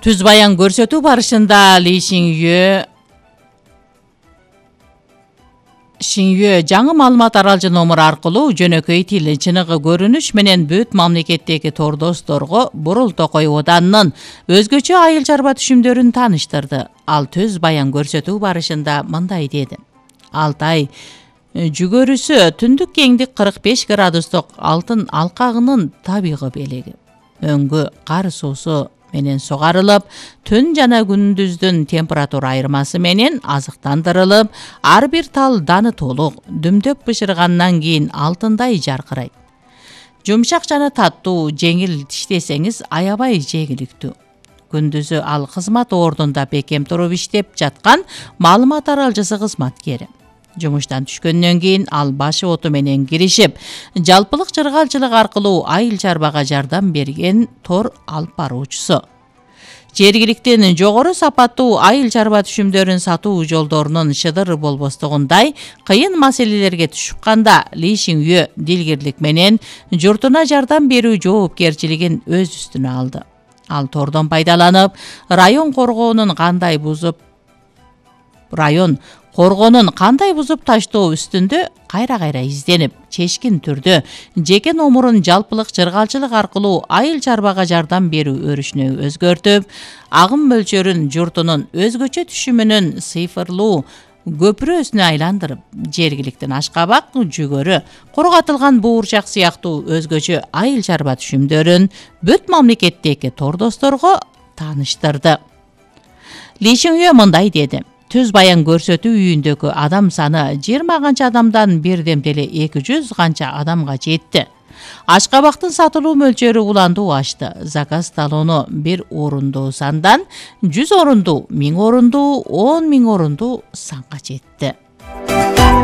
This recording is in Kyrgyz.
Түз баян көрсөтүү барышында Ли Шинюэ жаңы маалымат аралжы номер аркылуу жөнөкөй тил, чыныгы көрүнүш менен бүт мамлекеттеги тордосторго Бурул Токой Оданынын өзгөчө айыл чарба түшүмдөрүн тааныштырды. Ал түз баян көрсөтүү барышында мындай деди. Алтай жүгөрүсү түндүк кеңдик 45 градустук алтын алкагынын табигый белеги. Өңгү кар суусу менен сугарылып, түн жана күндүздүн температура айырмасы менен азыктандырылып, ар бир тал даны толук, дүмдөп бышыргандан кийин алтындай жаркырайт. Жумшак жана таттуу, жеңил тиштесеңиз аябай жеңиликтүү. Күндүзү ал кызмат ордунда бекем туруп иштеп жаткан маалымат аралжысы кызматкери. Жумуштан түшкөндөн кийин ал башы оту менен киришип, жалпылык чыргалчылык аркылуу айыл чарбага жардам берген тор алып баруучусу. Жергиликтин жогору сапаттуу айыл чарба түшүмдөрүн сатуу жолдорунун шыдыр болбостугундай кыйын маселелерге түшүп Ли Шинюэ дилгирлик менен журтуна жардам берүү жоопкерчилигин өз үстүнө алды. Ал тордон пайдаланып, район коргоонун кандай бузуп таштоо үстүндө кайра изденип, чечкин түрдө жеке номурун жалпылык чыргалчылык аркылуу айыл чарбага жардам берүү өрүшүнө өзгөртүп, агым мөлчөрүн журтунун өзгөчө түшүмүнүн цифрлуу көпүрөсүнө айландырып, жергиликтин ашкабак, жүгөрү, кургатылган буурчак сыяктуу өзгөчө айыл чарба түшүмдөрүн бүт мамлекеттеги тордосторго тааныштырды. Ли Шинюэ мындай деди. Түз баян көрсөтүү үйүндөгү адам саны 20 канча адамдан бирдемде эле 200 канча адамга жетти. Ашкабактын сатылуу мөлчөрү уландуу ашты. Заказ талону 1 орундуу сандан 100 орундуу, 1000 орундуу, 10 000 орундуу санга жетти.